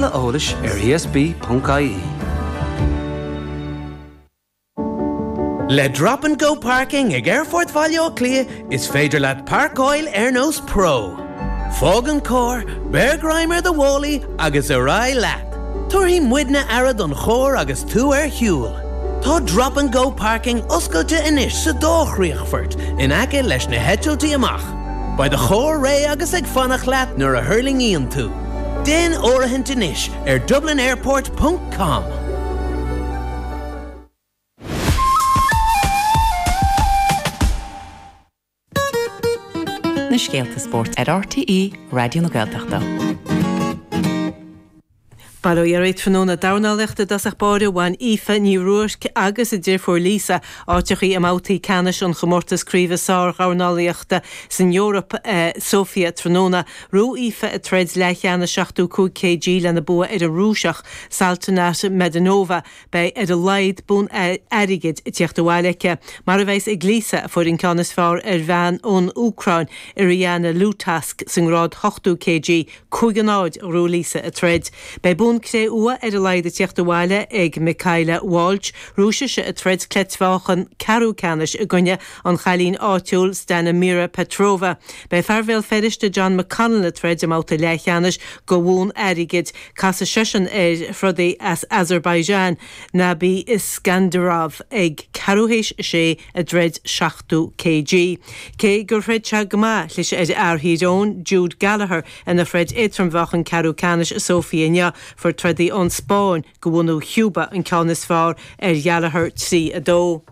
Tuilleadh eolais ar ESB.ie. Le Drop and Go Parking ag Aerfort Bhaile Átha Cliath is féidir leat páirceáil ar nós pro. Fág an carr, beir greim ar do mhálaí agus ar aghaidh leat! Tabharfaidh muidne aire don charr agus tú ar shiúl. Tá Drop and Go Parking oscailte anois sa dá chríochfort in aice leis na heitiltí amach. Beidh do charr réidh agus ag fanacht leat nuair a thuirlingíonn tú. Déan áirithint anois ar dublinairport ponc com. Na scéalta spóirt ar RTÉ Raidió na Gaeltachta. Bail ó Dhia oraibh tráthnóna dornálaíochta i dtosach báire bhain Aoife Ní Ruairc agus a deirfiúr Lisa áiteachaí i mbabhtaí ceannais an chomórtais craoibhe sár-dhornálaíochta san Eoraip i Sofia tráthnóna. Ghnóthaigh Aoife a troid leathcheannais 75 kg lena bua ar an Rúiseach Saltanat Medenova. Beidh ar a laghad bonn airgid ag tíocht abhaile aici, mar a bheas ag Lisa a fuair an ceann is fearr ar bhean ón Úcráin, Iriana Lutask, sa ngrád 80 kg. 5 a 0 a ghnóthaigh Lisa a troid. Beidh bonn cré-umha ar a laghad ag tíocht abhaile ag Michaela Walsh. Ghnóthaigh sise a troid cleitmheáchan ceathrú ceannais i gcoinne an chailín áitiúil Stanimira Petrova. Beidh fear Bhéal Feirste John McConnell ag troid i mbabhta leathcheannais do bhonn airgid. Casfaidh seisean ar throdaí as Azerbaijan, Nabi Isgandarov, ag ceathrú théis a sé i dtroid 70 kg. Cé gur throid sé go maith, chlis ar fhear Thír Eoghain, Jude Gallagher, ina throid éadtrommheáchan ceathrú ceannais i Sóifia inniu, fuair trodaí ón Spáinn de bhunadh Chúba an ceann is fearr ar Ghallagher 3, 2.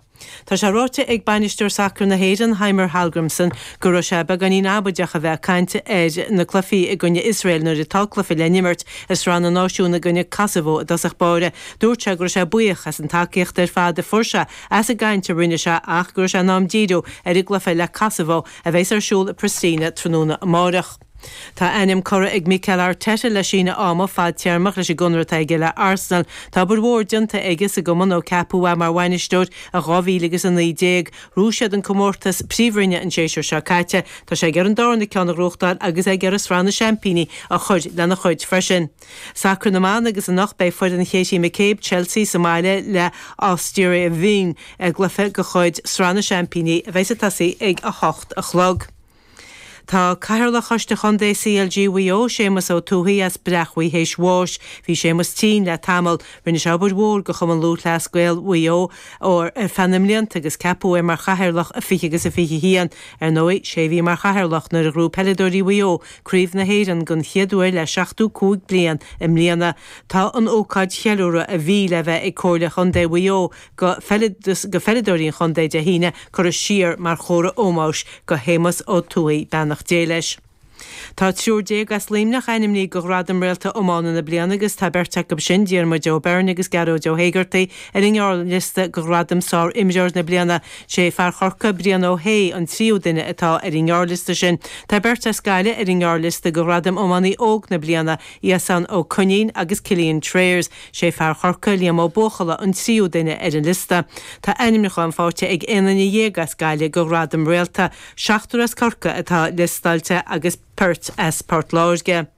Tá sé ráite ag bainisteoir sacair na hÉireann, Heimir Hallgrímsson, go raibh sé beagáinín amaideach a bheith ag caint ar na cluichí i gcoinne Iosrael nuair atá cluiche le n-imirt i Sraith na Náisiún i gcoinne Kosovo i dtosach báire. Dúirt sé go raibh sé buíoch as an tacaíocht ar fad a fuair sé as an gcaint a rinne sé ach go raibh sé in am díriú ar an gcluiche le Kosovo a bheas ar siúl i Pristina tráthnóna amárach. Tá a ainm curtha ag Mikel Arteta le síneadh ama fadtéarmach leis an gconradh atá aige le Arsenal. Tá obair mhór déanta aige sa gcumann ó ceapadh é mar bhainisteoir i 2019. Ghnóthaigh siad an comórtas Príomhroinne an séasúr seo caite. Tá sé ag iarraidh an darna ceann a ghnóthachtáil agus é ag iarraidh Sraith na Seaimpíní a chur lena chuid freisin. Sacar na mban agus anocht beidh foireann Katie McCabe, Chelsea, sa mbaile le Austria Wien i gcluiche de chuid Sraith na Seaimpíní a bheas ag tosaí ag 8 a chlog. Tá Cathaoirleach Choiste Chontae CLG Mhaigh Eo, Séamus Ó Tuathaigh, as Breachmhaigh théis bháis. Bhí Séamus tinn le tamall. Rinne sé obair mhór do Chumann Lúthchleas Gael Mhaigh Eo ar feadh na mblianta agus ceapadh é mar chathaoirleach i 20 agus i 21. Ar ndóigh, sé a bhí mar chathaoirleach nuair a ghnóthaigh peileadóirí Mhaigh Eo Craobh na hÉireann den chéad uair le 75 bliain i mbliana. Tá an ócáid cheiliúradh a bhí le bheith ag Comhairle Chontae Mhaigh Eo go pheileadóirí an chontae Dé hAoine curtha siar mar chomhartha ómóis go Shéamus Ó Tuathaigh, beannacht Dé leis. Tá triúr déag as Luimneach ainmnithe go Ghradam Réalta Iomána na Bliana agus tá beirt acu sin, Diarmuid Ó Beirn agus Gearóid Ó hÉigeartaigh, ar an ngearrliosta go Ghradam Sár-Imreoir na Bliana. Sé fear Chorcaí, Brian Ó hAodha, an tríú duine atá ar an ngearrliosta sin. Tá beirt as Gaillimh ar an ngearrliosta go Ghradam Iománaí Óg na Bliana, Iasán Ó Coinín agus Cillian Trayers. Sé fear Chorcaí, Liam Ó Buachalla, an tríú duine ar an liosta. Tá ainmniúcháin faighte ag 11 duine as Gaillimh go Ghradam Réalta. Seachtar as Corcaigh atá liostáilte agus beirt as Port Láirge.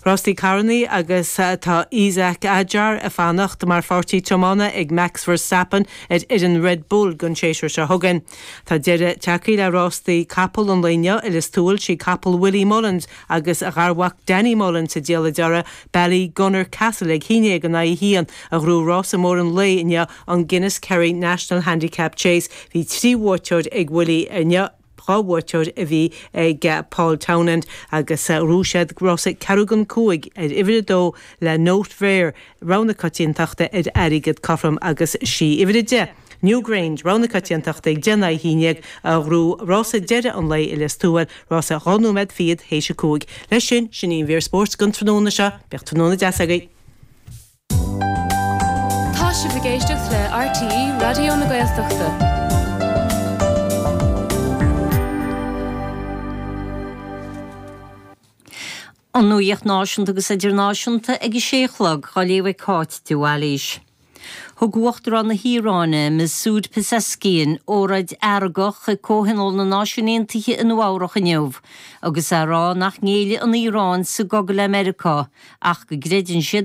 Rástaí carrannaí agus tá Isack Hadjar ag fanacht mar pháirtí tiomána ag Max Verstappen ar fhoireann Red Bull don séasúr seo chugainn. Tá deireadh tagtha le rástaí capall an lae inniu i Lios Tuathail, sí capall Willie Mullins agus a gharmhac Danny Mullins sa diallait orthu, Ballygunner Castle ag haon déag in aghaidh a haon a ghnóthaigh rása mór an lae inniu, an Guinness Kerry National Handicap Chase. Bhí trí bhuaiteoir ag Willie inniu, dhá bhuaiteoir a bhí ag Paul Townend agus ghnóthaigh siad rása ceathrú don cúig ar uimhir a dó le Note Rare, rogha na coitiantachta ar airgead cothrom agus sí uimhir a 10, Newgrange, rogha na coitiantachta ag 10 in aghaidh 11 a ghnóthaigh rása deiridh an lae i Lios Tuathail, rása 2 nóiméad fichead théis a 5. Leis sin, sin í an mhír spóirt don tráthnóna seo. Bíodh tráthnóna deas agaibh. Tá sibh ag éisteacht le RTÉ Raidió na Gaeltachta. An nuacht náisiúnta agus idirnáisiúnta ag a sé a chlog, á léamh ag Cáit de Bhailís. Thug Uachtarán na hIaráine, Masoud Pezeshkian, óráid fheargach chuig Comhthionól na Náisiún Aontaithe i Nua Eabhrac inniu agus é ag rá nach ngéillfidh an Iaráin sa gcogadh le Meiriceá ach go gcreideann siad.